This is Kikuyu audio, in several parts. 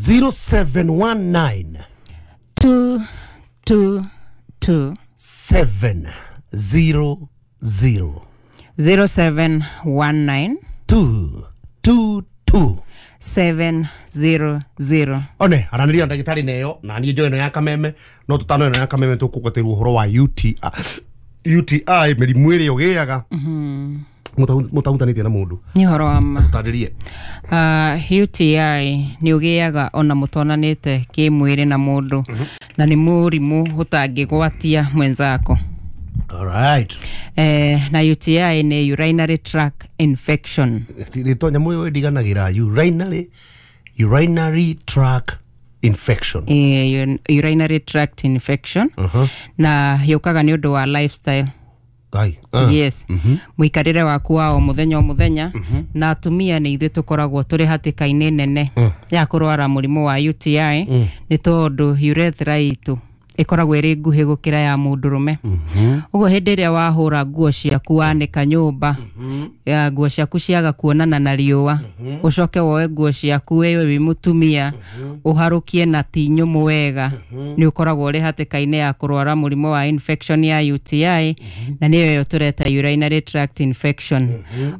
0719 2 2 2 700 0719 2 2 2 700. One aranĩria na ndagĩtarĩ neyo na niĩ njoĩ ĩno ya kameme no tũtano ĩno ya kameme tũkũgwatĩrwo ũhoro wa UTI, UTI mĩrimũ ĩrĩa ũgĩaga mũtahutanĩtie na mũndũ. Nĩ ũhoro wa ma. Tũtarĩrie. UTI nĩ ũgĩaga ona mũtonanĩte kĩmwĩrĩ na mũndũ, na nĩ mũrimũ ũtangĩgwatia mwenzako. Alright. Na UTI nĩ urinary tract infection. Rĩtwa nyamũ ĩyo ĩndiganagĩra, urinary tract infection. Urinary tract infection, na yũkaga nĩ ũndũ wa lifestyle. Ngai. Yes, mũikarĩre waku wa o mũthenya o mũthenya. Na atumia nĩ ithuĩ tũkoragwo tũrĩ hatĩka-inĩ nene ya kũrwara mũrimũ wa UTI, nĩ tondũ urethra itũ ĩkoragwo ĩrĩ nguhĩ gũkĩra ya mũndũrũme. Ũguo hĩndĩ ĩrĩa wahũra nguo ciaku, wanĩka nyũmba ya nguo ciaku ciaga kuonana na riũa, ũcoke woe nguo ciaku wewe wĩ mũtumia ũharũkie na ti nyũmũ wega, nĩ ũkoragwo ũrĩ hatĩka-inĩ ya kũrwara mũrimũ wa infection ya UTI, na nĩyo ĩyo tũreta urinary tract infection.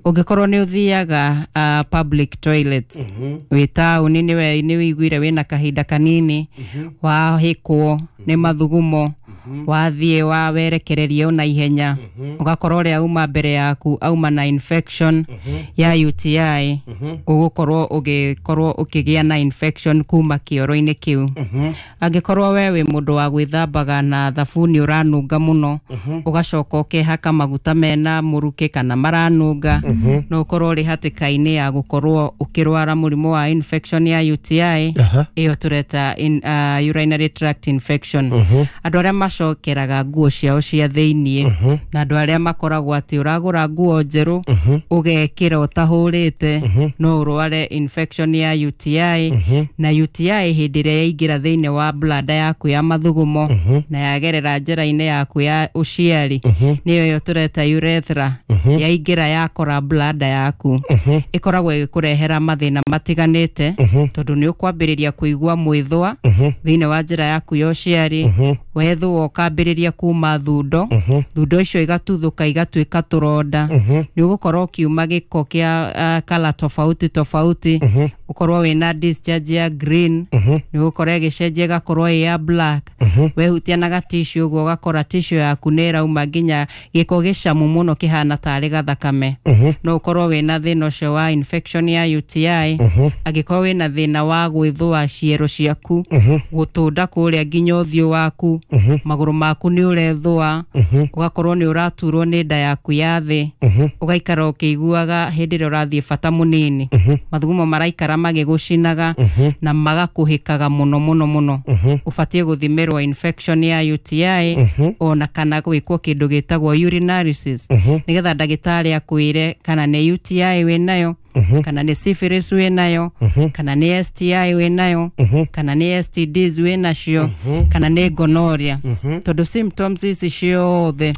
Ũngĩkorwo nĩ ũthiaga public toilets wĩ taũni, nĩ wĩiguire wĩna kahinda kanini wahĩkwo nĩ mathugumo, wathiĩ wa werekereria ona ihenya, ũgakorwo ũrĩa auma mbere yaku auma na infection ya UTI, ũgũkorwo ũgĩkorwo ũkĩgĩa na infection kuma kĩoro-inĩ kĩu. Angĩkorwo we wĩ mũndũ wa gwĩthambaga na thabuni ũranunga mũno, ũgacoka ũkehaka maguta mena mũrukĩ kana maranunga, no ũkorwo ũrĩ hatĩka-inĩ ya gũkorwo ũkĩrwara mũrimũ wa infection ya UTI, ĩyo tũreta urinary tract infection. Andũ arĩa macokeraga nguo ciao cia thĩiniĩ, na andũ arĩa makoragwo atĩ ũragũra nguo njerũ ũgekĩra ũtahũrĩte, no ũrware infection ya UTI. Na UTI hĩndĩ ĩrĩa yaingĩra thĩinĩ wa bladder yaku ya mathugumo na yagerera njĩra-inĩ yaku ya ũciari, nĩyo ĩyo tũreta urethra, yaingĩra yakora bladder yaku, ĩkoragwo ĩgĩkũrehera mathĩna matiganĩte, tondũ nĩ ũkwambĩrĩria kũigua mwĩthũa thĩinĩ wa njĩra yaku ya ũciari. Wethũa ũkambĩrĩria kuma thundo, thundo icio igatuthũka igatuĩka tũronda. Nĩ ũgũkorwo ũkiuma gĩko kĩa colour tofauti tofauti, ũkorwo wĩna discharge ya green, nĩ ũgũkorwo ĩgĩcenjia ĩgakorwo ĩ ya black. Wehutia na gatissue ũguo, ũgakora tissue yaku nĩ ĩrauma nginya gĩko gĩcamu mũno kĩhana tarĩ gathakame. No ũkorwo wĩna thĩna ũcio wa infection ya UTI. Angĩkorwo wĩna thĩna wa gwĩthũa ciero ciaku, gũtũnda kũrĩa nginya ũthiũ waku, magũrũ maku nĩ ũrethũa, ũgakorwo nĩ ũraturwo nĩ nda yaku ya thĩ, ũgaikara ũkĩiguaga hĩndĩ ĩrĩa ũrathiĩ bata mũnini mathugumo maraikara magĩgũcinaga na magakũhĩkaga mũno mũno mũno, ũbatiĩ gũthimĩrwo infection ya UTI ona kana gwĩkwo kĩndũ gĩtagwo urinalysis, nĩgetha ndagĩtarĩ akwĩre kana nĩ UTI wĩnayo, kana nĩ syphilis wĩnayo, kana nĩ STI wĩnayo, kana nĩ STDs wĩnacio, kana nĩ gonorrhea, tondũ symptoms ici ciothe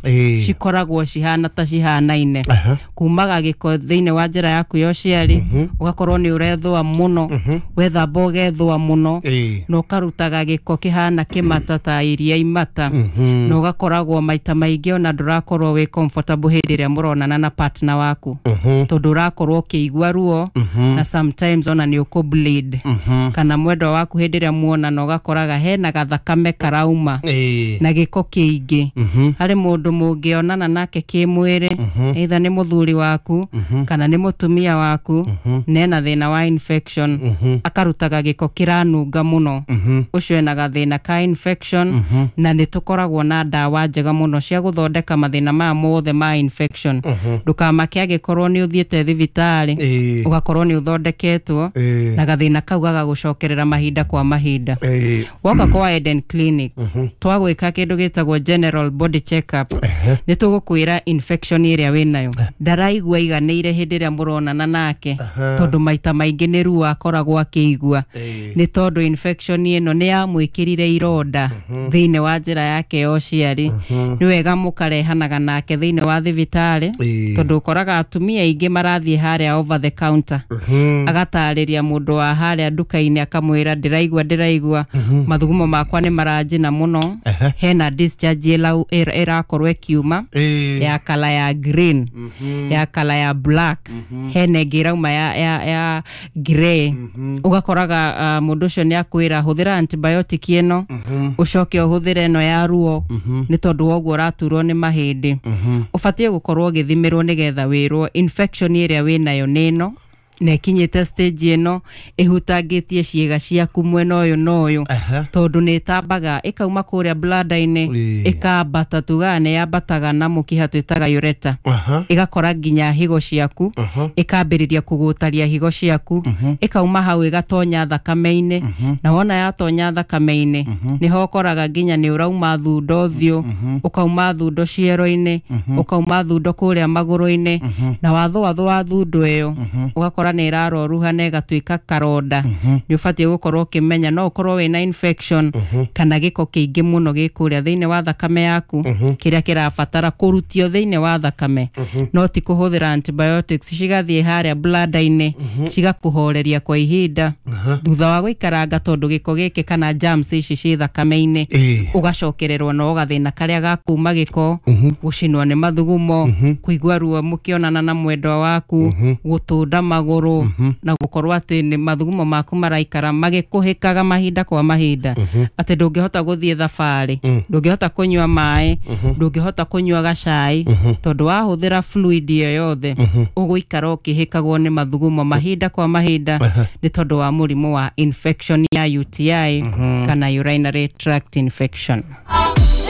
cikoragwo cihana ta cihanaine. Kumaga gĩko thĩinĩ wa njĩra yaku ya ũciari, ũgakorwo nĩ ũrethũa mũno, wethamba ũgethũa mũno, na ũkarutaga gĩko kĩhana kĩmata ta iria imata, na ũgakoragwo maita maingĩ ona ndũrakorwo wĩ comfortable hĩndĩ ĩrĩa mũronana na partner waku, tondũ ũrakorwo ũkĩigua ruo, na sometimes ona nĩ ũkũ bleed, kana mwendwa waku hĩndĩ ĩrĩa muonana ũgakoraga hena gathakame karauma na gĩko kĩingĩ. Harĩ mũndũ mũngĩonana nake kĩmwĩrĩ, either nĩ mũthuri waku kana nĩ mũtumia waku, nena thĩna wa infection, akarutaga gĩko kĩranunga mũno, ũcio ena gathĩna ka infection. Na nĩ tũkoragwo na ndawa njega mũno cia gũthondeka mathĩna maya mothe ma infection. Ndũkamake angĩkorwo nĩ ũthiĩte thibitarĩ, ũgakorwo nĩ ũthondeketwo na gathĩna kau gagagũcokerera mahinda kwa mahinda. Woka kwa Eden Clinics, twagwĩka kĩndũ gĩtagwo general body check up, nĩ tũgũkwĩra infection ĩrĩa wĩnayo. Ndaraigua iganĩire hĩndĩ ĩrĩa mũronana nake, tondũ maita maingĩ nĩ ruo akoragwo akĩigua, nĩ tondũ infection ĩno nĩ yamwĩkĩrire ironda thĩinĩ wa njĩra yake ya ũciari. Nĩ wega mũkarehanaga nake thĩinĩ wa thibitarĩ, tondũ ũkoraga atumia aingĩ marathiĩ harĩa over over the counter, agatarĩria mũndũ wa harĩa nduka-inĩ, akamwĩra, ndĩraigua mathugumo makwa nĩ maranjina mũno, hena discharge ĩrakorwo ĩkiuma ya kala ya green, ya kala ya black, hena ĩngĩ ĩrauma ya grey. Ũgakoraga mũndũ ũcio nĩ akwĩra, hũthĩra antibiotic ĩno, ũcoke ũhũthĩre ĩno ya ruo, nĩ tondũ wa ũguo ũraturwo nĩ mahĩndĩ. Ũbatiĩ gũkorwo ũgĩthimĩrwo nĩgetha wĩrwo infection ĩrĩa wĩnayo nĩ ĩno na ĩkinyĩte stage ĩno, ĩhutangĩtie ciĩga ciaku mwena ũyũ na ũyũ, tondũ nĩ ĩtambaga ĩkauma kũrĩa bladder-inĩ, ĩkambata, tugaga nĩ yambataga na mũkiha twĩtaga ureter, ĩgakora nginya higo ciaku, ĩkambĩrĩria kũgũtaria higo ciaku, ĩkauma hau ĩgatonya thakame-inĩ. Na wona yatonya thakame-inĩ, nĩho ũkoraga nginya nĩ ũrauma thundo ũthiũ, ũkauma thundo ciero-inĩ, ũkauma thundo kũrĩa magũrũ-inĩ. Na wathũathũa thundo ĩyo, ũgakora nĩ ĩraroruha na ĩgatuĩka karonda. Nĩ ũbatiĩ gũkorwo ũkĩmenya no ũkorwo wĩna infection kana gĩko kĩingĩ mũno gĩ kũrĩa thĩinĩ wa thakame yaku, kĩrĩa kĩrabatara kũrutio thĩinĩ wa thakame, no ti kũhũthĩra antibiotics cigathiĩ harĩa bladder-inĩ cigakũhoreria kwa ihinda, thutha wa gũikaranga, tondũ gĩko gĩkĩ kana germs ici ciĩ thakame-inĩ, ũgacokererwo na gathĩna karĩa ga kuma gĩko, gũcinwo nĩ mathugumo, kũigua ruo mũkĩonana na mwendwa waku, gũtũnda magũrũ, na gũkorwo atĩ nĩ mathugumo maku maraikara magĩkũhĩkaga mahinda kwa mahinda, atĩ ndũngĩhota gũthiĩ thabarĩ, ndũngĩhota kũnyua maĩ, ndũngĩhota kũnyua gacai, tondũ wahũthĩra fluid ĩyo yothe ũgũikara ũkĩhĩkagwo nĩ mathugumo mahinda kwa mahinda, nĩ tondũ wa mũrimũ wa infection ya UTI kana urinary tract infection.